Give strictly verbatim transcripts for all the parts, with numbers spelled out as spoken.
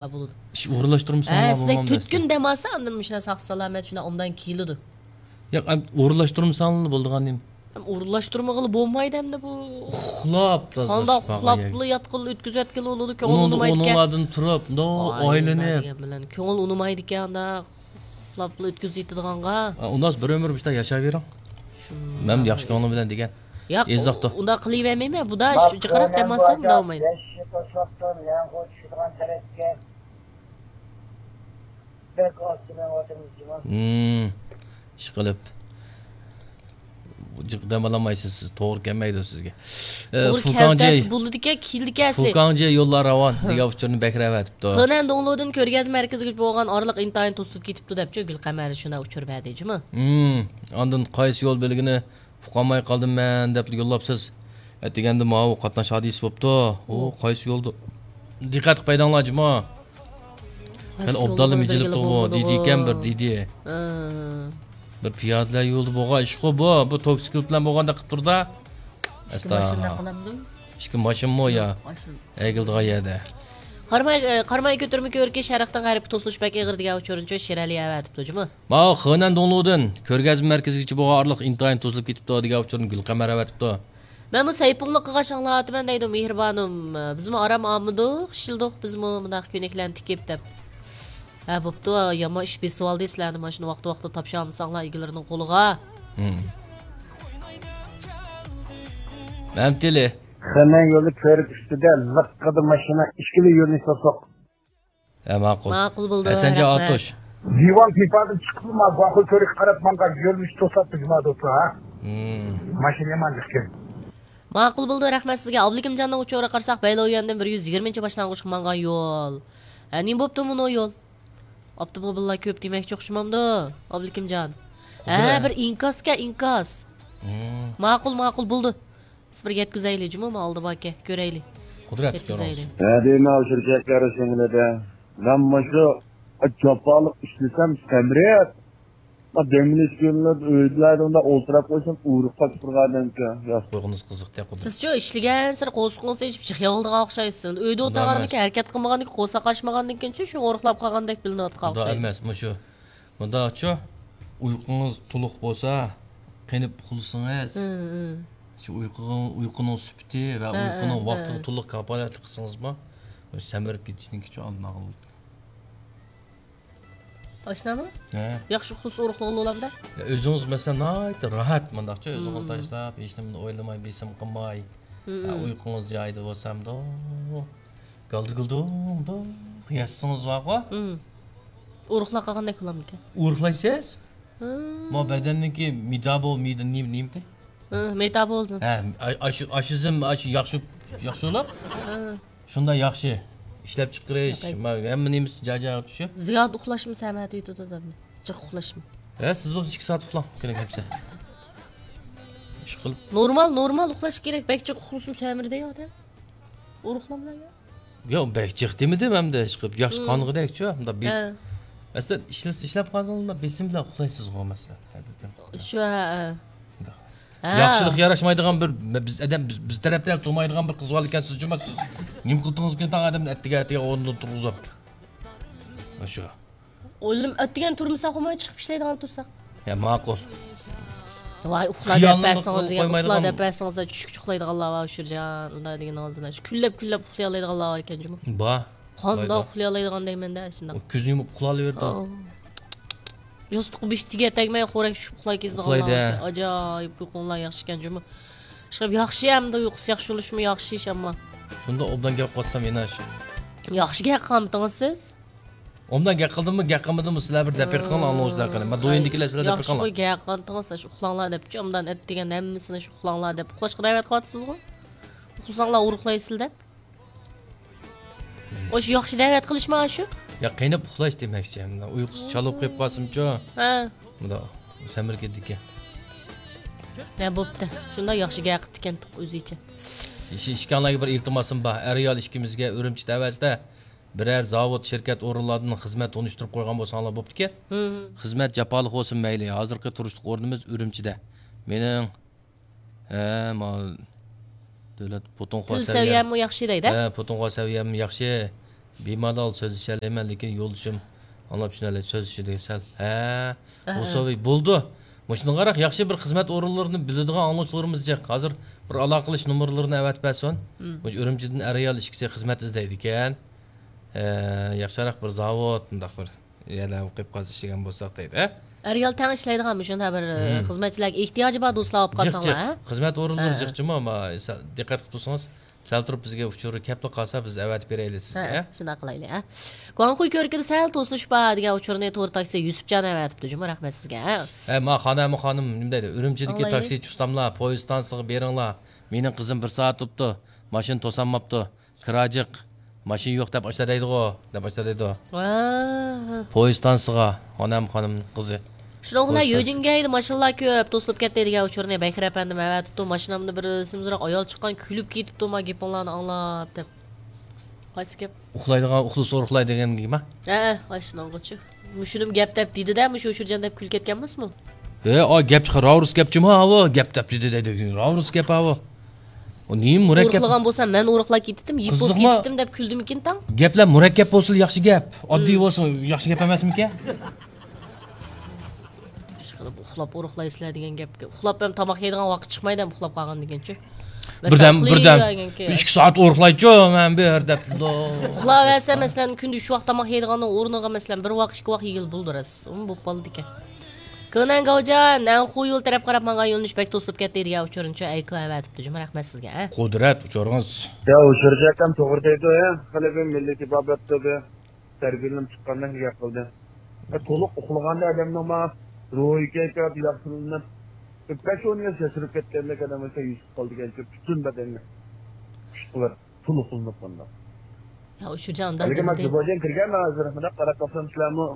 بولىدۇ. ئىش ئورۇنلاشتۇرمىساڭلار ھە، سىلەر بولمامدۇ تۈتكۈن ئەسلى؟ دەم ئالسا، ئاندىن مۇشۇنداق ساقچى سالامەت شۇنداق ئوبدان كېلىدۇ. ياق، ئەم، ئورۇنلاشتۇرمىساڭلار بولىدىغان نېمە؟ ئەم، ئورۇنلاشتۇرمىغىلى بولمايدۇ ئەمدى بۇ. ئۇخلاپ، قانداق ئۇخلاپلا ياتقىلى ئۆتكۈزۈۋەتكىلى بولىدۇ، كۆڭۈل ئۇنىمايدىكەن. ئۇنىڭلاردىن تۇرۇپ، مۇنداق ئايلىنىپ. دېگەن بىلەن كۆڭۈل ئۇنىمايدىكەن، ئانداق ئۇخلاپلا ئۆتكۈزۈۋېتىدىغانغا. ئۇنداق بىر ئۆمۈر مۇشۇنداق ياشاۋېرىڭ. مەن ياخشى كۆڭلۈم بىلەن دېگەن. ياق، ئۇنداق قىلىۋەرمەيمەن، بۇدا جىقراق دەم ئالسام داۋامايدۇ. بەك ئاز مېڭىۋاتىمىز جۇما. ھىم، ئىشقىلىپ جىق دەم ئالالمايسىز سىز، توغرا كەلمەيدۇ سىزگە. ئە، توغرا فۇكاڭجى، كەلتەس بولىدىكەن، كېلىدىكەن ئەسلى. فۇكاڭجى يوللار راۋان دېگەن ئۇچۇرنى بەك رەۋەتىپتۇ. خېنەن دوڭلۇدىن كۆرگەزمە مەركىزىگە بولغان ئارىلىق ئىنتايىن توسۇلۇپ كېتىپتۇ دەپچۇ گۈلقەمەر شۇنداق ئۇچۇر بەردى جۇمۇ. ھىم، ئاندىن قايسى يول بۆلىكىنى ئۇقالماي قالدىم مەن دەپ يوللاپسىز. ئەتىگەندە ماۋۇ قاتناش ھادىسىسى بوپتۇ. ئۇ قايسى يولدا؟ دىققەت قىلىپ ھەيدەڭلار جۇما. قايسى يولدا قېنى ئوبدانلا مىجىلىپ تۇرغۇ دېدىكەن بىر دېدى. ھە. بىر پىيادىلەر يولىدا بولغان ئىشقۇ بۇ. بۇ توكسىكلىت بىلەن بولغاندەك قىلىپ تۇردا. ئەستا. ئىككى ماشىنمۇ يا؟ ماشىنا. ئەگىلىدىغان يەردە. قاراماي، قاراماي كۆتۈرمە كۆركى شەرقتىن غەربكە توسۇلۇش بەك ئېغىر دېگەن ئۇچۇرنىچۇ شىرئەلى ئەۋەتىپتۇ جۇمۇ. ماۋۇ خېنەن دوڭلۇدىن كۆرگەزمە مەركىزىگىچە بولغان ئارىلىق ئىنتايىن توسۇلۇپ كېتىپتۇ دېگەن ئۇچۇرنى گۈلقەمەر ئەۋەتىپتۇ. مەنمۇ سەيپۇڭلۇق قىلغاچ ئاڭلاۋاتىمەن دەيدۇ مېھرىبانۇم. بىزمۇ ئارام ئالمىدۇق، ئىشلىدۇق، بىزمۇ مۇنداق كۆينەكلەرنى تىكىپ دەپ. ھە، بوپتۇ، يامان ئىش بېسىۋالدى سىلەرنى، مانا شۇنى ۋاقتى ۋاقتىدا تاپشۇرالمىساڭلار ئىگىلىرىنىڭ قولىغا. ھىم. مەمتىلى. خېنەن يولى كۆرۈك ئۈستىدە لىققىدە ماشىنا ئىككىلا يۆنىلىش توسۇق. ھە، ماقۇل. ماقۇل بولدى، ھەسەنجان رەھمەت. ئاتۇش. دىۋان پىپادىن چىقىپلا ما باخۇ كۆرۈككە قاراپ ماڭغان يۆنىلىش توساتتى جۇما دوستلار، ھا؟ ھىم. ماشىنا يامان ئىكەن. ماقۇل بولدى، رەھمەت سىزگە. ئابلىكىمجاننىڭ ئۇچۇرىغا قارىساق، بەيلويۈەندىن بىر يۈز يىگىرمىنچى باشلانغۇچقا ماڭغان يول. ھە، نېمە بوپتۇ مۇنۇ يول؟ ئاپتوموبىللار كۆپ دېمەكچى ئوخشىمامدۇ، ئابلىكىمجان؟ ھە، بىر ئىنكاسكەن، ئىنكاس. ھىم. ماقۇل، ماقۇل، بولدى. بىز بىر يەتكۈزەيلى جۇمۇ، ما ئالدى باركەن، كۆرەيلى. قۇدرەت يەتكۈزەيلى. ھە، دەيمەن، ئاشۇ چەكلەر شۇڭلىدە. مەن مۇشۇ جاپالىق ئىشلىسەم سەمرەپ، ما دەم ئېلىش كۈنلىرىدە ئۆيدىلەردە ئۇنداق ئولتۇراپ قويسام، ئۇرۇق قاچىپ تۇرغان ئادەمكەن. ياق. قويغىنىز قىزىق تەق قۇدرەت. سىزچۇ ئىشلىگەنسېرى قورسىقىڭىز ئېچىپ جىق يەۋالىدىغان ئوخشايسىز. ئۆيدە ئولتۇرغاندىكىن، ھەرىكەت قىلمىغاندىكىن، قورساق ئاچمىغاندىكىنچۇ شۇ ئورۇقلاپ قالغاندەك بىلىنىۋاتقان ئوخشايدۇ. ئۇنداق ئەمەس، مۇشۇ. مۇنداقچۇ، ئۇيقۇڭىز تولۇق بولسا، قېنىپ ئۇخلىسىڭىز، ھىم، ھىم. شۇ ئۇيقۇغا، ئۇيقۇنىڭ سۈپىتى ۋە ھە، ئۇيقۇنىڭ ھە، ۋاقتىغا ھە. تولۇق كاپالەتلىك قىلسىڭىزمۇ، سەمرىپ كېتىشنىڭكىچۇ ئالدىنى ئالغىلى بولىدۇ. ئاشۇنداقمۇ؟ ھە. ياخشى ئۇخلىسا ئورۇقلىغىلى بولامدا؟ يا، ئۆزىڭىز مەسىلەن ناھايىتى راھەت مۇنداقچۇ، ئۆزىڭىزنى ھىم. تاشلاپ، ھېچنېمىنى ئويلىماي، بېسىم قىلماي. ھىم، ھە، ھىم. ئۇيقۇڭىز جايىدا بولسا ئەمدى، گالدى-گۇلدۇڭدۇڭ ياتسىڭىز بارغۇ. ھىم. ئورۇقلاپ قالغاندەك بولامدىكەن؟ ئورۇقلايسىز؟ ھىم. ما بەدەننىڭكى مېتابول-، مېدا-، نېمە، نېمىدى؟ ھىم، مېتابولىزم. ھە، ئا-، ئاشۇ-، ئاشىزم، ئاشۇ ياخشى، ياخشى بولۇپ. ھىم. شۇنداق ياخشى. ئىشلەپچىقىرىش، ياقەي. ما-، ھەممە نېمىسى جاي-جايىغا چۈشۈپ. زىيادە ئۇخلاشمۇ سەمەتى يېتىدۇ ئادەمنى. جىق ئۇخلاشمۇ. ھە، سىز بولسا ئىككى سائەت ئۇخلاڭ، كېرەك ھەمسە. ئىشقىلىپ. نورمال، نورمال ئۇخلاش كېرەك. بەك جىق ئۇخلىسىمۇ سەمرىدى ئادەم. ئورۇقلاملا يا. ياق، بەك جىق دېمىدىم ئەمدى، ئىشقىلىپ ياخشى ھىم. قانغۇدەكچۇ، مۇنداق بېس-، ھە. مەسىلەن، ئىشلەش-، ئىشلەپ قالسىڭىز، مۇنداق بېسىم بىلەن ئۇخلايسىزغۇ، مەسىلەن. شۇ، ھە، ھە. مۇنداق. ھە. ياخشىلىق ياراشمايدىغان بىر، بىز ئادەم، بىز، بىز تەرەپتە تۇرمايدىغان بىر قىز بار ئىكەن، سىز جۇما سىز. نېمە قىلدىڭىز ئىكەن تاڭ ئادەمنى ئەتىگەن، ئەتىگەن ئورنىدىن تۇرغۇزۇپ؟ شۇ. ئويلىدىم، ئەتىگەن تۇرمىساق بولماي چىقىپ ئىشلەيدىغان تۇرساق. يا، ماقۇل. ۋاي، ئۇخلا دەپ بەرسىڭىز دېگەن، ئۇخلا دەپ بەرسىڭىز، چۈشكىچە ئۇخلايدىغانلار بار، ئۇشۇرجان. ئۇنداق دېگىنىڭىز بىلەن شۇ كۈنلەپ، كۈنلەپ ئۇخلىيالايدىغانلار بار ئىكەن جۇمۇ. بار. قانداق ئۇخلىيالايدىغان دەيمەن-دە، شۇنداق. كۆزىنى يۇمۇپ ئۇخلاۋېرىدۇ. ئاۋۇ. ياستۇققا بېشى تېگەر تەگمەي خورەك چۈشۈپ ئۇخلاپ كېتىدىغانلار ئۇخلايدۇ. ئاجايىپ ئۇيقۇڭلار ياخشى ئىكەن جۇمۇ. ئىشقىلىپ ياخشى ئەمدى ئۇيقۇسى ياخشى بولۇشمۇ ياخشى ئىش ئەمما. شۇنداق ئوبدان گەپ قىلسام يەنە شۇ. ياخشى گەپ قىلمىتىڭىز سىز؟ ئوبدان گەپ قىلدىممۇ، گەپ قىلمىدىممۇ، سىلەر بىر دەپ بېرىڭ، ئاڭلىغۇچىلار قېنى. مەن دويىندىكىلەر سىلەر دەپ بېرىڭلار. ياخشىغۇ گەپ قىلمىتىڭىز، شۇ ئۇخلاڭلار دەپچۇ، ئوبدان ئەتىگەن ھەممىسىنى شۇ ئۇخلاڭلار دەپ ئۇخلاشقا دەۋەت قىلىۋاتىسىزغۇ. ئۇخلىساڭلار ئورۇقلايسىلەر دەپ. ئاشۇ ياخشى دەۋەت قىلىشمۇ ئاشۇ؟ يا، قېنىپ ئۇخلاش دېمەكچى. مۇنداق ئۇيقۇسى چالا بولۇپ قېلىپ قالسىمچۇ؟ ھە. مۇنداق سەمرىپ كېتىدىكەن. ھە، بوپتۇ. شۇنداق ياخشى گەپ قىپتىكەن ئۆزىچە. ئىش-، ئىككىڭلارغا بىر ئىلتىماسىم بار. ئەر-ئايال ئىككىمىزگە ئۈرۈمچى تەۋەسىدە بىرەر زاۋۇت، شىركەت ئورۇنلاردىن خىزمەت تونۇشتۇرۇپ قويغان بولساڭلار بوپتىكەن. ھىم. خىزمەت جاپالىق بولسۇن مەيلى. ھازىرقى تۇرۇشلۇق ئورنىمىز ئۈرۈمچىدە. مېنىڭ ھە، ما دۆلەت پۇتۇڭخۇا تىل سەۋىيەم، سەۋىيەممۇ ياخشى دەيدۇ. ھە، پۇتۇڭخۇا سەۋىيەم ياخشى. بىمالال سۆزلىشەلەيمەن، لېكىن يولدىشىم ئاڭلاپ چۈشىنەلەيدۇ، سۆزلىشىدۇ سەل. ھە، ئەھە. بولدى. مۇشۇنىڭغا ياخشى بىر خىزمەت ئورۇنلىرىنى بىلىدىغان ئاڭلىغۇچىلىرىمىز جىق. ھازىر بىر ئالاقىلىشىش نومۇرلىرىنى ئەۋەتىپ بەرسۇن. مم. مۇشۇ ئۈرۈمچىدىن ئەر-ئايال ئىككىسى خىزمەت ئىزدەيدىكەن. ئە، ياخشىراق بىر زاۋۇت، مۇنداق بىر يەرلەرگە قويۇپ قالسا ئىشلىگەن بولساق دەيدۇ، ھە؟ ئەر-ئايال تەڭ ئىشلەيدىغان مۇشۇنداق بىر، مم، خىزمەتچىلەرگە ئېھتىياجى بار دوستلار ئاپ جىق، قالساڭلار، جىق. ھە؟ خىزمەت ئورۇنلىرى، ھە، جىقچىمۇ، ئەمما سە-، دىققەت قىلىپ تۇرسىڭىز، سەل تۇرۇپ بىزگە ئۇچۇر كەپلا قالسا، بىز ئەۋەتىپ بېرەيلى سىزگە، ھە، ھە؟ شۇنداق قىلايلى، ھە؟ گۇاڭخۇي كۆركىدە سەل توسۇلۇش بار دېگەن ئۇچۇرنى تور تاكسى يۈسۈپجان ئەۋەتىپتۇ جۇمۇ، رەھمەت سىزگە، ھە؟ ھە، ما خانەمە خانىم، نېمە دەيدۇ، ئۈرۈمچىدىكى، ئاڭلايلى، تاكسىچى ئۇستاملار، پويىز ئىستانسىغا بېرىڭلار، مېنىڭ قىزىم بىر سائەت بوپتۇ، ماشىنا توسالماپتۇ، كىرا جىق، ماشىنا يوق دەپ ئاشتا دەيدىغۇ، دەپ ئاشتا دەيدۇ. ۋاھ. پويىز ئىستانسىغا، خانەم خانىم قىزى. شۇنىڭ بىلەن پويىز ئىستانسىسى. يۆجىنگەيدە ماشىنىلار كۆپ، توسۇلۇپ كەتتى دېگەن ئۇچۇرنى بەكرى ئەپەندىم ئەۋەتىپتۇ. ماشىنامدا بىر سېمىزراق ئايال چىققان، كۈلۈپ كېتىپتۇ، ما گېپىڭلارنى ئاڭلاپ دەپ. قايسى گەپ؟ ئۇخلايدىغان، ئۇخلىسا ئورۇقلايدۇ دېگەن گېپىما؟ ھە، ئاشۇنىڭغۇچۇ. مۇشۇنىمۇ گەپ دەپ دېدى-دە، مۇشۇ ئۇچۇرجان دەپ كۈلۈپ كەتكەن ئەمەسمۇ؟ ھە، ئا، گەپ چىقار، راۋۇرۇس گەپچىما ئاۋۇ، گەپ دەپ دېدى دەيدۇ، راۋۇرۇس گەپ ئاۋۇ. ئۇ نېمە مۇرەككەپ؟ ئورۇقلىغان بولسام، مەن ئورۇقلاپ كېتىتتىم، يېپىپ بولۇپ قىزىقما؟ كېتىتتىم دەپ كۈلدىمىكىن تاڭ؟ گەپلەر مۇرەككەپ بولسىلا ياخشى گەپ، ئاددىي، مم، بولسا ياخشى گەپ ئەمەسمىكەن؟ ئىشقىلىپ ئۇخلاپ ئورۇقلايسىلەر دېگەن گەپكە. ئۇخلاپ ھەم تاماق يەيدىغان ۋاقىت چىقمايدۇ ھەم ئۇخلاپ قالغاندىن كېيىنچۇ. مەسىلەن، بىردەم، بىردەم، ئىككى سائەت ئورۇقلايچۇ مەن بىر دەپ. ئۇخلاۋەرسە، مەسىلەن، كۈندە ئۈچ ۋاق تاماق يەيدىغاننىڭ ئورنىغا، مەسىلەن، بىر ۋاق، ئىككى ۋاق يېگىلى بولىدۇ راست. ئۇمۇ بولۇپ قالىدىكەن. كېنەن گاۋجان، نەنخۇ يول تەرەپ قاراپ ماڭغان يۆنىلىش بەك توسۇلۇپ كەتتى دېگەن ئۇچۇرنىچۇ ئەيكو ئەۋەتىپتۇ جۇمۇ، رەھمەت سىزگە، ھە. قۇدرەت، ئۇچۇرىڭىز. يا، ئۇچۇرجان ئاكام توغرا دەيدۇ، ھە. خېلى بىر مىللىتى بار بەپتۇ بىر. تەربىيەلىنىپ چىققاندەك گەپ قىلدى. ئە، تولۇق ئۇخلىغاندا ئادەمنىڭ ما روھى كەيپىياتى ياخشىلىنىپ، بىر بەش ئون يىل ياشىرىپ كەتكەندەك ئادەم بولسا يۈسۈپ قالىدىكەنچۇ، پۈتۈن بەدەنگە كۈچ قۇۋۋەت، تولۇق ئۇخلىنىپ قالغاندا. يا، ئۇچۇرجان ئۇنداق دېمىدى. بەلكىم بۇ جايدىن كىرگەن ھازىر، مۇنداق قاراپ باقسام سىلەرمۇ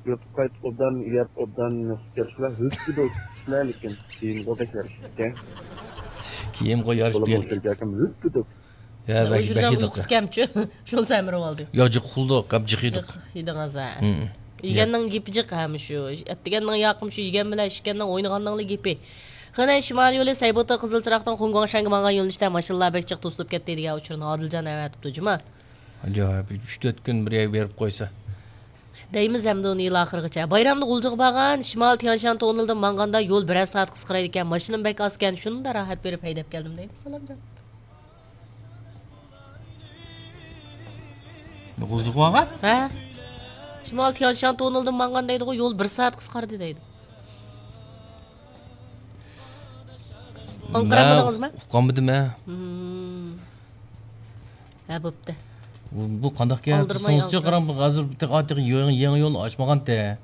يوتۇپ قايتىپ ئوبدان يەپ، ئوبدان يوتۇپ كەپسىلەر، ھۆپپىدە ئوتۇپسىلەر، لېكىن كىيىمغۇ بەك يارىشىپتىكەن. كىيىمغۇ يارىشىپ بولۇپمۇ كەتتى. ئۇچۇرجان ئاكام ھۆپپىدە. يا، بەك، بەك يېدۇق. ئۇيقۇسى كەمچۇ؟ شۇنىسى ئەمرى بولدى. يا، جىق ئۇخلىدۇق، ھەم جىق يېدۇق. جىق يېدىڭىز، ھە. ھىم. يېگەننىڭ گېپى جىق، ھە، مۇشۇ. ئەتىگەننىڭ ياقى مۇشۇ، يېگەن بىلەن ئىچكەننىڭ، ئوينىغاننىڭلا گېپى. خېنەن شىمالىي يولى سەيبوتا قىزىلچىراغدىن خۇڭگۇاڭشەنگە ماڭغان يۆنىلىشتە ماشىنىلار بەك جىق توسۇلۇپ كەتتى دېگەن ئۇچۇرنى ئادىلجان ئەۋەتىپتۇ، جۇما. ئاجايىپ، ئۈچ تۆت كۈن بىر يەرگە بېرىپ قويسا. دەيمىز ئەمدى ئۇنى يىل ئاخىرىغىچە. بايرامدا غۇلجىغا بارغان، شىمال تيەنشان توننېلدىن ماڭغاندا يول بىرەر سائەت قىسقىرايدىكەن، ماشىنىمۇ بەك ئازكەن، شۇنداق راھەت بېرىپ ھەيدەپ كەلدىم دەيدۇ سالامجان. غۇلجىغا بارغان؟ ھە. شىمال تيەنشان توننېلدىن ماڭغان دەيدىغۇ، يول بىر سائەت قىسقاردى دەيدۇ. ئاڭقىرالمىدىڭىزمۇ؟ ئۇقالمىدىم، ھە. مم. ھە، بوپتۇ. بۇ، بۇ قانداق گەپ؟ ئالدىرىماي دېسىڭىزچۇ، ئالدىرىسىز. قاراڭ، بۇ ھازىر بىر تېخى، تېخى يېڭى، يېڭى يول ئاچمىغانتى.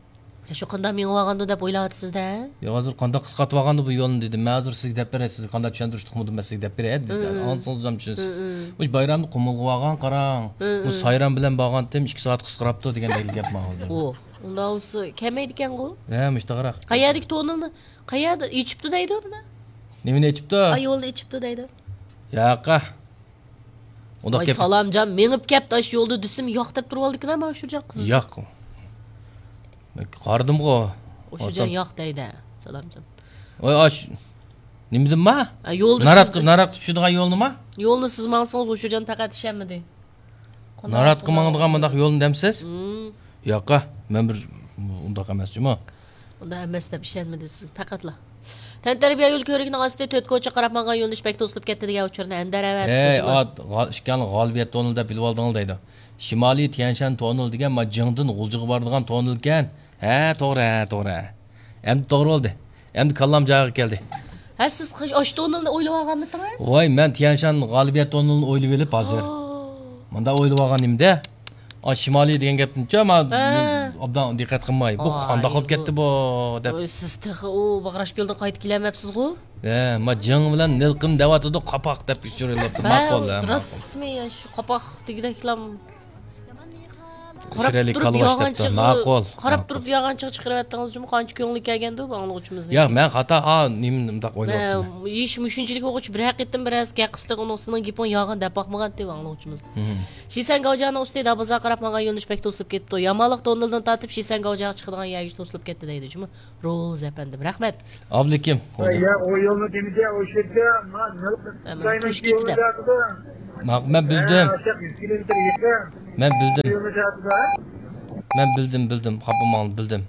يا، شۇ قانداق مېڭىۋالغاندۇ دەپ ئويلاۋاتىسىز-دە. يا، ھازىر قانداق قىسقارتىۋالغاندۇ بۇ يولنى دېدىم. مەن ھازىر سىزگە دەپ بېرەي، سىزگە قانداق چۈشەندۈرۈشلۈك قىلمىدىم مەن سىزگە دەپ بېرەي، دېدى. مم. ئاڭلىسىڭىز ھەم چۈشىنىسىز. مم. مۇشۇ بايرامدا قۇمۇلغا بارغان، قاراڭ. مم. مۇشۇ سايرام بىلەن بارغانتىم، ئىككى سائەت قىسقىراپتۇ دېگەندەك گەپ ماڭا ھازىر. ئۇ، ئۇنداق بولسا كەلمەيدىكەنغۇ. ھە، مۇشۇنداقراق. قەيەردىكى تونېلنى، قەيەردە ئېچىپتۇ دەيدۇ بۇنى. نېمىنى ئېچىپتۇ؟ ئا، يولنى ئېچىپتۇ دەيدۇ. ياقا. ئۇنداق ۋاي گەپ. سالامجان مېڭىپ كەپتۇ، ئاشۇ يولدا دېسىم، ياق دەپ تۇرۇۋالدىكىن، ئەمما ئۇشۇرجان قىز. ياق. مەن قارىدىمغۇ. ئۇشۇرجان ياق دەيدۇ، سالامجان. ۋاي، ئاش-، نېمىدىنما؟ ھە، يولدا نارات، سىز نارات چۈشىدىغان يولنىما؟ يولنى سىز ماڭسىڭىز، ئۇشۇرجان پەقەت ئىشەنمىدى. ناراتقا ماڭىدىغان مۇنداق يولنى دەمسىز؟ مم. ياقا، مەن بىر ئۇنداق ئەمەس جۇمۇ. ئۇنداق ئەمەس دەپ ئىشەنمىدى سىز پەقەتلا. تەنتەربىيە يول كۆۋرۈكىنىڭ ئاستى تۆت كوچا قاراپ ماڭغان يۆنىلىش بەك توسۇلۇپ كەتتى دېگەن ئۇچۇرنى ئەندەر ئەۋەتىپتۇ، ھەي، جۇمۇ. ئات، غا-، ئىكەن غالىبىيەت تونېلى دەپ بىلىۋالدىڭلار دەيدۇ. شىمالىي تيەنشان تونېلى دېگەن ما جىڭدىن غۇلجىغا بارىدىغان تونېلكەن. ھە، توغرا، ھە، توغرا. ئەمدى توغرا بولدى. ئەمدى كاللام جايىغا كەلدى. ھە، سىز قاش-، ئاشۇ تونېلنى ئويلىۋالغانمىتىڭىز؟ ۋاي، مەن تيەنشان غالىبىيەت تونېلىنى ئويلىۋېلىپ ھازىر. ئوو. مۇنداق ئويلىۋالغان نېمىدە؟ ئا، شىمالىي دېگەن گەپنىچۇ، ما، ھە. ئوبدان دىققەت قىلماي. بۇ ئاي، قانداق بولۇپ بۇ، كەتتى بۇ، دەپ. ۋاي، سىز تېخى ئۇ باغراش كۆلدىن قايتىپ كېلەلمەپسىزغۇ؟ ھە، ما جىڭ بىلەن نىلقىن دەۋاتىدۇ، قاپاق دەپ ئۇچۇرۇۋېلىپتۇ. ھە، ماقۇل، ھە، ماقۇل. راستمۇ يا، شۇ قاپاق دېگۈدەكلام. قاراپ تۇرۇپ يالغانچىغا، ماقۇل، قاراپ تۇرۇپ يالغانچىغا چىقىرىۋەتتىڭىز جۇمۇ، قانچە كۆڭلى كەلگەندۇ بۇ ئاڭلىغۇچىمىزنىڭ. ياق، مەن خاتا، ئا، نېمە، مۇنداق ئويلاۋاپتىمەن. ھېچ مۇشۇنچىلىك بولغۇچە بىرەر قېتىم بىرەرسى گەپ قىلسا، ئۇنىڭ سېنىڭ گېپىڭ يالغان دەپ باقمىغانتى بۇ ئاڭلىغۇچىمىز. مم. شىسەن گاۋجياڭنىڭ ئۈستى دابازا قاراپ ماڭغان يۆنىلىش بەك توسۇلۇپ كېتىپتۇ. يامانلىق تونېلىدىن تارتىپ شىسەن گاۋجياڭغا چىقىدىغان يەرگىچە توسۇلۇپ كەتتى دەيدۇ جۇمۇ. روز ئەپەندىم، رەھمەت. ئابلىكىم. يا، ئۇ يولنى دېمىدى، ئۇ شەردە، ما، نەل-، ئەمما دايمەن توشۇپ كېتىدۇ. ماق-، مەن بىلدىم. مەن بىلدىم. مەن بىلدىم، بىلدىم. خاپا بولماڭ، بىلدىم.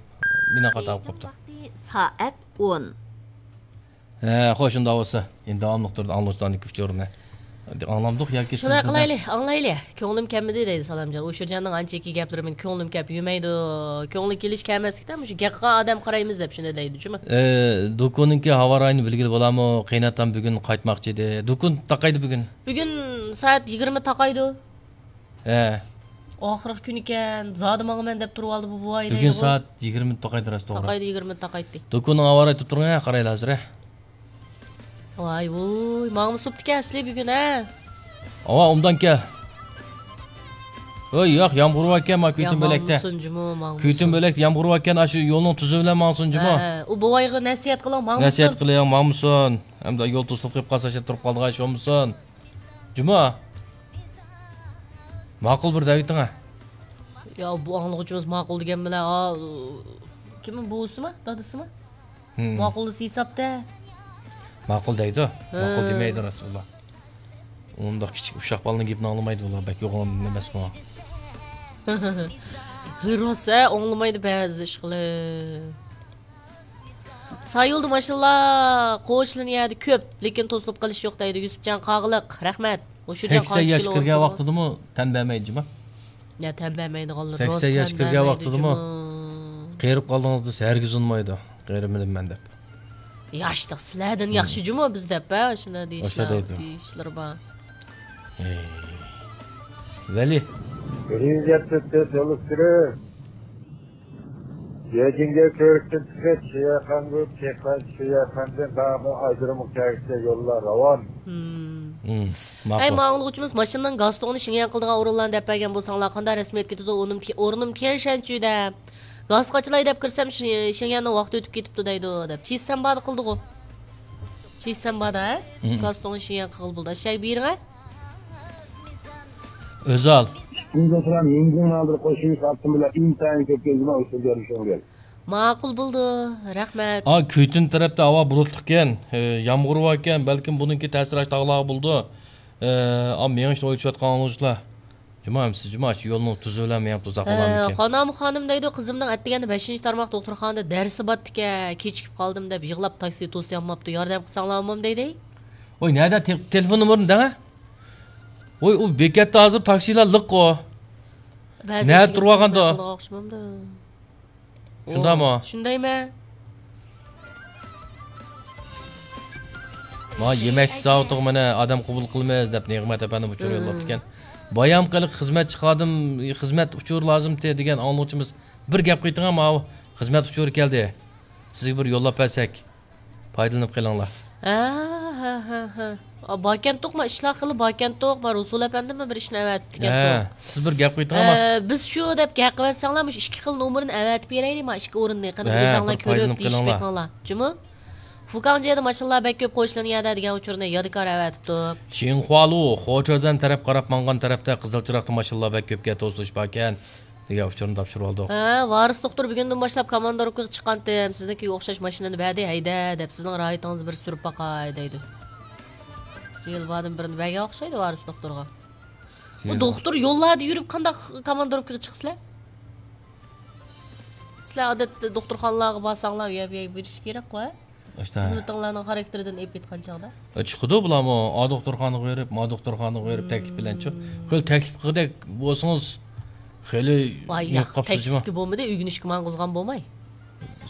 مېنىڭ خاتا بولۇپ قاپتۇ. ۋاقتى سائەت ئون. ھە، خوش، شۇنداق بولسا. ئەمدى داۋاملىق تۇرىدۇ ئاڭلىغۇچىلارنىڭ ئۇچۇرىنى. ئاڭلامدۇق ياكى شۇنداق قىلايلى، ئاڭلايلى. كۆڭلۈم كەلمىدى دەيدۇ سالامجان. ئۇ شۇرجاننىڭ ئانچىكى گەپلىرى مېنىڭ كۆڭلۈم كەپ يۈرمەيدۇ. كۆڭلى كېلىش كەلمەسلىكتە مۇشۇ گەپ قىلغان ئادەم قارايمىز دەپ شۇنداق دەيدۇ جۇمۇ. ئە، دۇكۇننىڭكى ھاۋا رايىنى بىلگىلى بولامۇ؟ قېيناتام بۈگۈن قايتماقچى ئىدى. دۇكۇن تاقايدۇ بۈگۈن. بۈگۈن سائەت يىگىرمە تاقايدۇ. ھە. ئاخىرقى كۈنى ئىكەن، زادى ماڭىمەن دەپ تۇرۇۋالدى بۇ بوۋاي بۈگۈن دەيدىغۇ. سائەت يىگىرمە تاقايدۇ راست توغرا. تاقايدۇ، يىگىرمە تاقايتتى. دۇكۇننىڭ ھاۋا رايى تۇرۇپ تۇرۇڭ، ھە، قارايلا ھازىر، ھە. ۋاي ۋۇي، ماڭمۇ سوپتىكەن ئەسلى بۈگۈن، ھە؟ ئاۋا، ئوبدان كەل. ھوي، ياق، يامغۇر باركەن، ما كۈتۈم بۆلەكتە. ماڭمىسۇن جۇمۇ، ماڭمىسۇن. كۈتۈم بۆلەكتە يامغۇر باركەن، ئاشۇ يولنىڭ تۈزى بىلەن ماڭسۇن جۇمۇ. ھە، ھە. ئۇ بوۋايغا نەسىھەت قىلىڭ، ماڭمىسۇن. نەسىھەت قىلىڭ، ماڭمىسۇن. ئەمدى يول توسۇلۇپ قېلىپ قالسا، شۇ تۇرۇپ قالىدىغان ئىش بولمىسۇن. جۇمۇ. ماقۇل بىر دەۋېتىڭە. يا، بۇ ئاڭلىغۇچىمىز ماقۇل دېگەن بىلەن، ئا، كىم، بوۋىسىما، دادىسىما؟ ھىم. ماقۇل دېسە ھېسابتا. ماقۇل دەيدۇ. ھە. ماقۇل دېمەيدۇ رەسۇلۇللا. ئۇنداق كىچىك ئۇششاق بالىنىڭ گېپىنى ئاڭلىمايدۇ ئۇلار، بەك يوغان ئەمەسمۇ؟ ھە، راست، ھە، ئاڭلىمايدۇ بەزى ئىشقىلىپ. سايۇلدا ماشىنىلار، قوچ لىنىيەدە كۆپ، لېكىن توسۇلۇپ قېلىش يوق دەيدۇ. يۈسۈپجان قاغىلىق، رەھمەت. مۇشۇ جاي سەكسەن ياش كىرگەن ۋاقتىدىمۇ تەن بەرمەيدۇ جۇما. يا، تەن بەرمەيدىغانلار سەكسەن ياش كىرگەن ۋاقتىدىمۇ قېرىپ قالدىڭىز دېسە، ھەرگىز ئۇنىمايدۇ. قېرىمىدىم مەن دەپ. ياشلىق سىلەردىن ياخشى جۇمۇ بىز دەپ، ھە، شۇنداق دېيىشلار، دېيىشلىرى بار. ۋەلى. بىرىنچى گەپ سۆزى تولۇشتۇرۇپ. بېيجىڭگە كۆرۈكتىن چىقىپ، شىيەخەنگە چېقىپ، شىيەخەندىن داۋاملىق ئايرىمغا كەلگۈچە يوللار راۋان. ھىم. ھىم، ماقۇل. ئەي، ماڭغۇچىمىز ماشىنىنىڭ گاز تۇڭىنى شېڭيەن قىلىدىغان ئورۇنلارنى دەپ بەرگەن بولساڭلار، قانداق رەسمىيەت كېتىدۇ، ئورنۇم، ئورنۇم تيەنشەنچۈدە. گاز قاچىلاي دەپ كىرسەم، شى-، شېڭيەننىڭ ۋاقتى ئۆتۈپ كېتىپتۇ دەيدۇ، دەپ. چىسەنبادا قىلدىغۇ. چىسەنبادا، ھە؟ ھىم. گاز تۇڭىنى شېڭيەن قىلغىلى بولىدۇ. ئەشەگە بېرىڭە. ئۆزال. ئىنگلىزلار مىڭگۇڭ نادىر قوشۇنى ساپتىن بىلەن ئىنتايىن كۆپ گەزمە ئۇچۇر بېرىشىڭ. ماقۇل بولدى، رەھمەت. ئا، كۈيتۈن تەرەپتە ھاۋا بۇلۇتلۇقكەن، ئە، يامغۇر باركەن، بەلكىم بۇنىڭكى تەسىرى ئاشۇ تاغلارغا بولىدۇ. ئە، ئا، مېڭىشنى ئويلىشىۋاتقان ئاڭلىغۇچىلار. جۇما، سىز جۇما، شۇ يولنىڭ تۈزى بىلەن مېڭىپ تۇرساق بولامدىكىن؟ خانام خانىم دەيدۇ، قىزىمنىڭ ئەتىگەندە بەشىنچى تارماقتا دوختۇرخانىدا دەرسى بارتىكەن، كېچىكىپ قالدىم دەپ يىغلاپ تاكسى توسۇيالماپتۇ، ياردەم قىلساڭلارمۇ دەيدۇ. ۋاي، نەدە تېل-، تېلېفون نومۇرىنى دەڭە؟ ۋاي، ئۇ بېكەتتە ھازىر تاكسىلار لىققۇ. نەدە تۇرۇۋالغاندۇ؟ شۇنداقمۇ؟ شۇندايمەن. ما يېمەكلىك زاۋۇتىغا مانا ئادەم قوبۇل قىلىمىز دەپ نېغمەت ئەپەندىم ئۇچۇر يوللاپتىكەن. بايام قېلىق خىزمەتچى خادىم، خىزمەت ئۇچۇرى لازىمتى دېگەن ئاڭلىغۇچىمىز بىر گەپ قىلىڭە، ماۋۇ خىزمەت ئۇچۇرى كەلدى. سىزگە بىر يوللاپ بەرسەك. پايدىلىنىپ قېلىڭلار. ھە، ھە، ھە، ھە. ئا، باركەنتۇق، ما ئىشلار خېلى باركەنتۇق، ما رۇسۇل ئەپەندىمۇ بىر ئىشنى ئەۋەتىپتىكەنتۇق. ھە، سىز بىر گەپ قىلىڭلار. ئە، بىز شۇ دەپ گەپ قىلىۋەتسەڭلار، مۇشۇ ئىككى خىل نومۇرنى ئەۋەتىپ بېرەيلى، ما ئىككى ئورۇننى. قېنى، ھە، ئۆزۈڭلار بىر كۆرۈپ پايدىلىنىپ دېيىشىپ قېلىڭلار. بېقىڭلار. جۇمۇ؟ فۇكاڭجيەدە ماشىنىلار بەك كۆپ، قوچلىنىيەدە دېگەن ئۇچۇرنى يادىكار ئەۋەتىپتۇ. شىنخۇالۇ، خوچۇزەن تەرەپ قاراپ ماڭغان تەرەپتە قىزىل چىراغدا ماشىنىلار بەك كۆپكەن، توسۇلۇش باركەن. دېگەن ئۇچۇرنى تاپشۇرۇۋالدۇق. ھە، ۋارىس دوختۇر بۈگۈندىن باشلاپ كاماندىروپكىغا چىققانتىم، سىزنىڭكىگە ئوخشاش ماشىنىنى بەردى، ھەيدە دەپ، سىزنىڭ راھىتىڭىزنى بىر سۈرۈپ باقاي دەيدۇ. يىل باردىن بىرنى بەرگەن ئوخشايدۇ ۋارىس دوختۇرغا. ئۇ دوختۇر يوللاردا يۈرۈپ قانداق كاماندىروپكىغا چىقىسىلەر؟ سىلەر ئادەتتە دوختۇرخانىلارغا بارساڭلار، يەپ يەپ بېرىش كېرەكقۇ، ھە؟ ئاشتا. خىزمىتىڭلارنىڭ خاراكتېرىدىن ئېلىپ ئېيتقان چاغدا. ئە، چىقىدۇ بۇلارمۇ، ئا دوختۇرخانىغا بېرىپ، ما دوختۇرخانىغا بېرىپ، تەكلىپ بىلەنچۇ. خېلى تەكلىپ قىلغۇدەك بولسىڭىز، خېلى ۋاي، ياق، تەكلىپكە بولمىدى، ئۆگىنىشكە ماڭغۇزغان بولماي.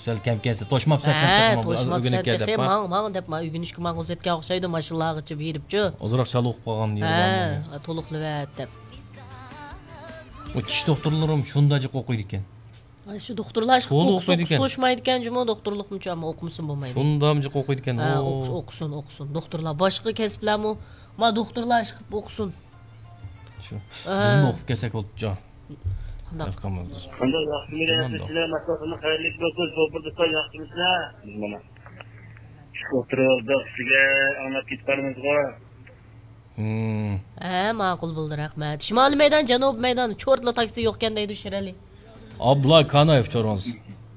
سەل كەم كەلسە، توشماپسەن سەن تېخىمۇ، ئۆگىنىپ كەل دەپ، ماڭ، ماڭ دەپ، ما ئۆگىنىشكە ماڭغۇزۇۋەتكەن ئوخشايدۇ، ماشىنىلارغىچە بېرىپچۇ. ئازراق چالا ئوقۇپ قالغان يېرى بارمۇ؟ ھە، تولۇقلىۋەت دەپ. ئۇ چىش دوختۇرلىرىمۇ شۇنداق جىق ئوقۇيدىكەن. ئاي، شۇ دوختۇرلار ئىشقىپ تولا ئوقۇسا ئوقۇيدىكەن. ئوقۇسا توشمايدىكەن جۇمۇ، دوختۇرلۇقمۇچۇ، ئەمما ئوقۇمىسىمۇ بولمايدۇ. شۇنداق جىق ئوقۇيدىكەن. ھە، ئوقۇس-، ئوقۇسۇن، ئوقۇسۇن. دوختۇرلار، باشقا كەسىپلەرمۇ، ما دوختۇرلار ئىشقىپ ئوقۇسۇن. شۇ. ھە. بىزمۇ ئوقۇپ كەلسەك بولۇپتۇ. قانداق؟ قانداق، ياخشىمۇ؟ ماشىنا خەيرلىك بولسۇن، شوپۇر دوستلار، ياخشىمۇسىلەر؟ بىز مانا چۈشۈپ ئولتۇرۇۋالدۇق، سىزگە ئاڭلاپ كېتىپ قالىمىزغۇ. ھە، ماقۇل بولدى، رەھمەت. شىمالىي مەيدان، جەنۇبىي مەيدان، چورتلا تاكسى يوقكەن دەيدۇ شىرئەلى. ئابلا كانايېف چورىڭىز.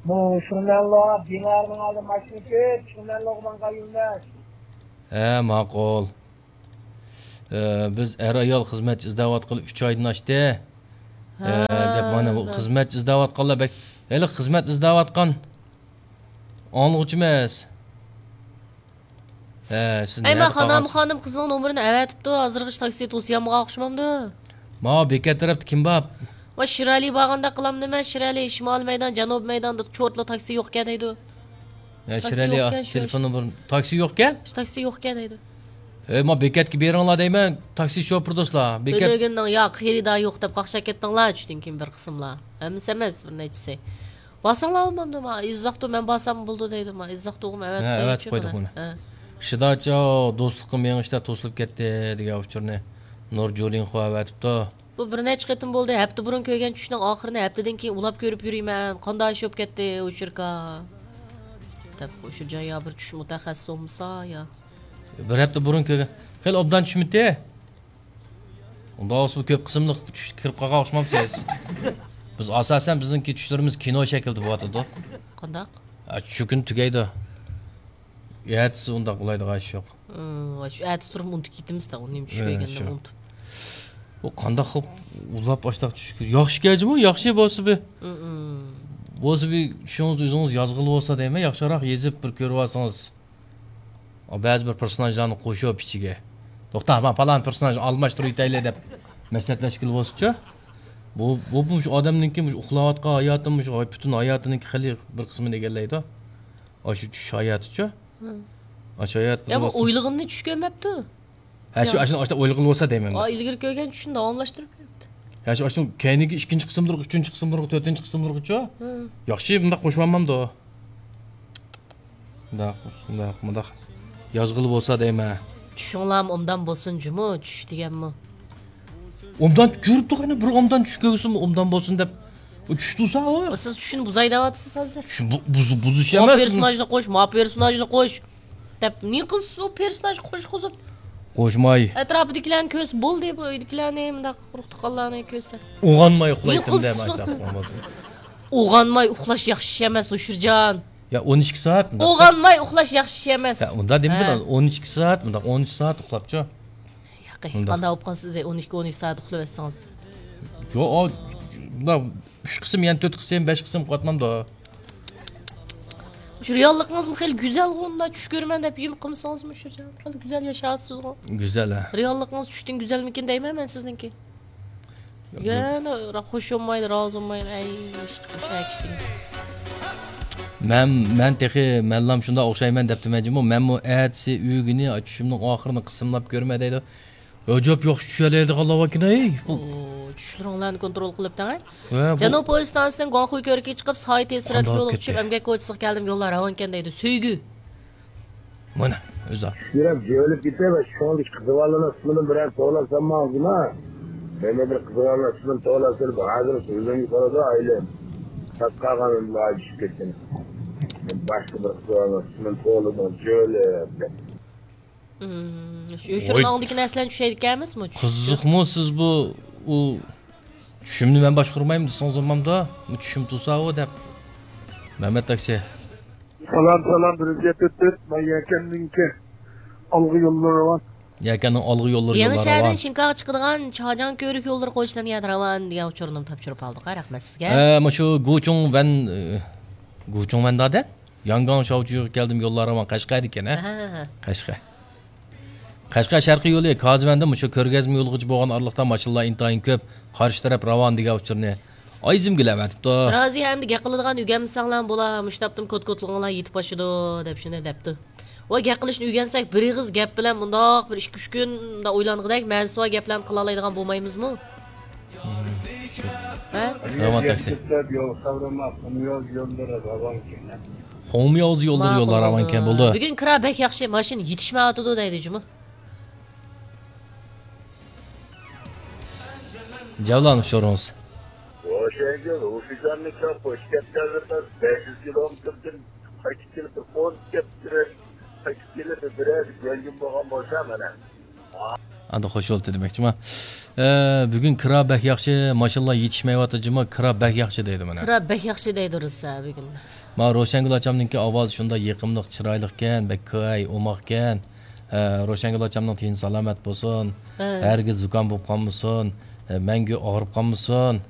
بۇ شۇنەنلو بىنارنىڭ ئالدى ماشىنا كۆپ، شۇنەنلوغا ماڭغان يولداش. ھە، ماقۇل. ئە، بىز ئەر-ئايال خىزمەتچى ئىزدەۋاتقىلى ئۈچ ئايدىن ئاشتى. ئە، دەپ مانا بۇ خىزمەتچى ئىزدەۋاتقانلار بەك، ھېلى خىزمەت ئىزدەۋاتقان ئاڭلىغۇچى ئەمەس. ھە، سىز ئەي، مەن نەدە خانام، قالغانسىز؟ خانىم قىزنىڭ نومۇرىنى ئەۋەتىپتۇ، ھازىرغىچە تاكسى توسۇيالمىغان ئوخشىمامدۇ؟ ماۋۇ بېكەت تەرەپتە كىم بار؟ ۋاي، شىرئەلى بارغاندەك قىلامدىمەن، شىرئەلى، شىمالىي مەيدان، جەنۇبىي مەيداندا چورتلا تاكسى يوقكەن دەيدۇ. ھە، تاكسى شىرئەلى، يوقكەن، شۇ تېلېفون نومۇرىنى، تاكسى يوقكەن؟ تاكسى يوقكەن دەيدۇ. ھەي، ما بېكەتكە بېرىڭلار دەيمەن، تاكسى شوپۇرى دوستلار. بېكەت بۆلۈگۈننىڭ ياق، خېرىدارى يوق دەپ قاقشاپ كەتتىڭلار، چۈشتىن كېيىن بىر قىسىملار. ھەممىسى ئەمەس، بىر نەچچىسى. بارساڭلار بولمامدۇ؟ ما ئىززاقتۇ، مەن بارسام بولىدۇ دەيدۇ. ما ئىززاقتۇغۇم ھە، ئەۋەتىپ ئەۋەتىپ قويدۇق بۇنى. ھە. شىداچاۋ، دوستلۇققا مېڭىشتا توسۇلۇپ كەتتى دېگەن ئۇچۇرنى نۇر جۇلىنخۇا ئەۋەتىپتۇ. بۇ بىر نەچچە قېتىم بولدى. ھەپتە بۇرۇن كۆرگەن چۈشنىڭ ئاخىرىنى ھەپتىدىن كېيىن ئۇلاپ كۆرۈپ يۈرىمەن. قانداق ئىش بولۇپ كەتتى، ئۇچۇركا؟ دەپ، ئۇچۇرجان يا بىر چۈش مۇتەخەسسىسى بولمىسا يا. بىر ھەپتە بۇرۇن كۆرگەن. خېلى ئوبدان چۈشمىدى. ئۇنداق بولسا بۇ كۆپ قىسىملىق چۈشكە كىرىپ قالغان ئوخشىمامسىز؟ بىز ئاساسەن بىزنىڭكى چۈشلىرىمىز كىنو شەكلىدە بولۇۋاتىدۇ. قانداق؟ ئە، چۈشكۈن تۈگەيدۇ. ئەتىسى ئۇنداق بولىدىغان ئىش يوق. ھىم، ۋاي، شۇ ئەتىسى تۇرۇپ ئۇنتۇپ كېتىمىز-دە، ئۇنى چۈش ھە، كۆرگەندە شۇ. ئۇنتۇپ. بۇ قانداق قىلىپ ئۇلاپ ئاشتاق چۈش كۆر-، ياخشى كەجىمۇ، ياخشى بولسا بى. ھىم، ھىم. بولسا بى، چۈشىڭىزنى ئۆزىڭىز يازغىلى بولسا دەيمەن، ياخشىراق يېزىپ بىر كۆرۈۋالسىڭىز. بەزى بىر پېرسوناژلارنى قوشۇپ ئىچىگە. توختا، ما پالان پېرسوناژنى ئالماشتۇرۇۋېتەيلى دەپ مەسلىھەتلەشكىلى بولسىچۇ. بۇ، بۇ، بۇ مۇشۇ ئادەمنىڭكى مۇشۇ ئۇخلاۋاتقان ھاياتى، مۇشۇ پۈتۈن ھاياتىنىڭكى خېلى بىر قىسمىنى ئىگىلەيدۇ. ئاشۇ چۈش ھاياتىچۇ. ھىم. ئاشۇ ھايات يا، بۇ بولسا ئويلىغىنىنى چۈش كۆرمەپتۇ. ھە، شۇ، يا. ئاشۇنى، ئاشۇنداق ئويلىغىلى بولسا دەيمەن. ئا، ئىلگىرى كۆرگەن چۈشىنى داۋاملاشتۇرۇپ كۆرۈپتۇ. ھە، شۇ، ئاشۇ كەينىكى ئىككىنچى قىسىملىرىغا، ئۈچىنچى قىسىملىرىغا، تۆتىنچى قىسىملىرىغىچۇ. ھىم. ياخشى، بۇنداق قوشۇۋالمامدۇ؟ مۇنداق، مۇنداق، مۇنداق يازغىلى بولسا دەيمەن. چۈشۈڭلارمۇ ئوبدان بولسۇن جۇمۇ، چۈش دېگەنمۇ. ئوبدان كۆرۈپتۇق، ئەنە بىر ئوبدان چۈش كۆرسىمۇ ئوبدان بولسۇن دەپ. ئۇ چۈش تۇرسا ئۇ. سىز چۈشنى بۇزاي دەۋاتىسىز ھازىر. چۈش بۇ-، بۇز-، بۇزۇش ما ئەمەس. پېرسوناژنى قوش، ما پېرسوناژنى قوش. دەپ، نېمە قىلسىز ئۇ پېرسوناژ قوشقۇزۇپ؟ قوشماي. ئەتراپىدىكىلەرنى كۆرسە بولدى، بۇ ئۆيدىكىلەرنى، مۇنداق ئۇرۇق-تۇغقانلارنى كۆرسە. ئويغانماي ئۇخلايتتىم دە، ماكتاپ بولمىدى. ئويغانماي ئۇخلاش ياخشى ئىش ئەمەس، ھوشۇرجان. يا، ئون ئىككى سائەت مۇنداق. ئويغانماي ئۇخلاش ياخشى ئىش ئەمەس. يا، ئۇنداق دېمىدىم، ھە. ئون ئىككى سائەت مۇنداق، ئون ئۈچ سائەت ئۇخلاپچۇ. ياقى، مۇنداق. قانداق بولۇپ قالسىز، ئون ئىككى، ئون ئۈچ سائەت ئۇخلاۋەتسىڭىز؟ يو، ئۇ، مۇنداق ئۈچ قىسىم، يەنە تۆت قىسىم، بەش قىسىم قاتمامدۇ. شۇ رېئاللىقىڭىزمۇ خېلى گۈزەلغۇ، ئۇنداق چۈش كۆرىمەن دەپ يۇم قىلمىسىڭىزمۇ، شۇ خېلى گۈزەل ياشاۋاتىسىزغۇ. گۈزەل، ھە. رېئاللىقىڭىز چۈشتىن گۈزەلمىكىن دەيمەن مەن سىزنىڭكى. يا، يەنە را-، خوش بولمايدۇ، رازى بولمايدۇ. ئەي، ئىشقىلىپ، شۇ ئەكشتىن. مەن، مەن تېخى، مەنلام شۇنداق ئوخشايمەن دەپتىمەن جۇمۇ. مەنمۇ ئەتىسى ئۆگۈنى، چۈشۈمنىڭ ئاخىرىنى قىسىملاپ كۆرمە دەيدۇ. ئەجەب ياخشى چۈشەلەيدىغانلار باركەن، ھەي. بۇ ئو، چۈشلىرىڭلارنى كونترول قىلىپ تەڭ، ھە؟ ۋە بۇ جەنۇب پويىز ئىستانسىسىدىن گۇاڭخۇي كۆۋرۈكىگە چىقىپ، سايە تېز سۈرئەتلىك قانداق يولغا كېتەي؟ چۈشۈپ، ئەمگەك كوچىسىغا كەلدىم، يوللار راۋانكەن دەيدۇ. سۆيگۈ. مانا، ئۆزى. چۈشلىرىم جۆيلۈپ كېتەي ۋە شۇڭا قىزىۋالغان ئىسمىنى بىرەر توۋلاپ سالماڭزىما؟ مەن بىر قىزىۋالغان ئىسمىنى توۋلاپ سېلىپ، ھازىر سۆزۈمگە قارىدى ئايلىم. تاس قالغان ئۈنلەر چۈشۈپ كەتكەن. مەن باشقا بىر قىزىۋالغان ئىسمىنى توۋلىدىم، جۆيلۈپ دەپ. مم، شۇ، شۇ ۋاي. ئاڭدىكى نەرسىلەرنى چۈشەيدىكەنمىزمۇ؟ چۈش-، قىزىقمۇ سىز بۇ، ئۇ، چۈشۈمنى مەن باشقۇرمايمەن دېسىڭىز بولمامدۇ؟ چۈشۈم تۇرسا ئۇ دەپ. مەمەت تاكسى. سالام، سالام، بىرىنچى تۆت تۆت، مەن يەكەننىڭكى ئالغا يوللىرى راۋان. يەكەننىڭ ئالغا يوللىرى يېڭى يوللار شەھەردىن راۋان. شىنكاغا چىقىدىغان چاجاڭ كۆۋرۈك يوللىرى قويۇشلىرىنى ياد راۋان دېگەن ئۇچۇرنى تاپشۇرۇپ ئالدۇق. رەھمەت سىزگە. ئە، مۇشۇ گۇچۇڭۋەن، ئە، گۇچۇڭۋەن دادە؟ ياڭگاڭ شاۋچۈگە كەلدىم، يوللار راۋان، قەشقەردىكەن، ھە؟ ھە، ھە، ھە. قەشقەر. قەشقەر شەرقىي يولى، كازىۋەندىن مۇشۇ كۆرگەزمە يولىغىچە بولغان ئارىلىقتا ماشىنىلار ئىنتايىن كۆپ، قارشى تەرەپ راۋان دېگەن ئۇچۇرنى ئايزىمگىلە ئەۋەتىپتۇ. رازىيە، ئەمدى گەپ قىلىدىغان ئۆگەنمىسەڭلار بولا، مۇشۇ تاپتىمۇ كوت-كوتلۇقۇڭلار يېتىپ ئاشىدۇ، دەپ شۇنداق دەپتۇ. ۋاي، گەپ قىلىشنى ئۆگەنسەك، بىر ئېغىز گەپ بىلەن مۇنداق بىر ئىككى-ئۈچ كۈن مۇنداق ئويلانغۇدەك مەنىسى بار گەپلەرنى قىلالايدىغان بولمايمىزمۇ؟ ھە؟ راۋان تاكسى. كۆپلەپ يول سورىما، قۇمياز يوللىرى راۋانكەن. قۇمياز يوللىرى، ماقۇل يوللار بولدى. راۋانكەن، بولدى. بۈگۈن كىرا بەك ياخشى، ماشىنا يېتىشمەيۋاتىدۇ دەيدۇ جۇمۇ. جەۋلان ئۇچۇرىڭىز. روشەنگۈل، ھوشىجاننى كۆپ، قوشۇپ كەتكەنلىرىدە بەش يۈز كىلومېتىردىن قايتىپ كېلىپ، بىر ئون كەپتىرەك قايتىپ كېلىپ، بىرەر يەڭگىم بولغان بولسا مانا. ئاندىن خوش بولدى دېمەكچىما. ئە، بۈگۈن كىرا بەك ياخشى، ماشىنىلار يېتىشمەيۋاتىدۇ جۇمۇ، كىرا بەك ياخشى دەيدۇ مانا. كىرا بەك ياخشى دەيدۇ رۇسا بۈگۈن. ما روشەنگۈل ئاچامنىڭكى ئاۋازى شۇنداق يېقىملىق، چىرايلىقكەن، بەك كاي، ئوماقكەن. ئە، روشەنگۈل ئاچامنىڭ تېنى سالامەت بولسۇن. ھە. ھەرگىز زۇكام بولۇپ قالمىسۇن. ئە، مەڭگۈ ئاغرىپ قالمىسۇن.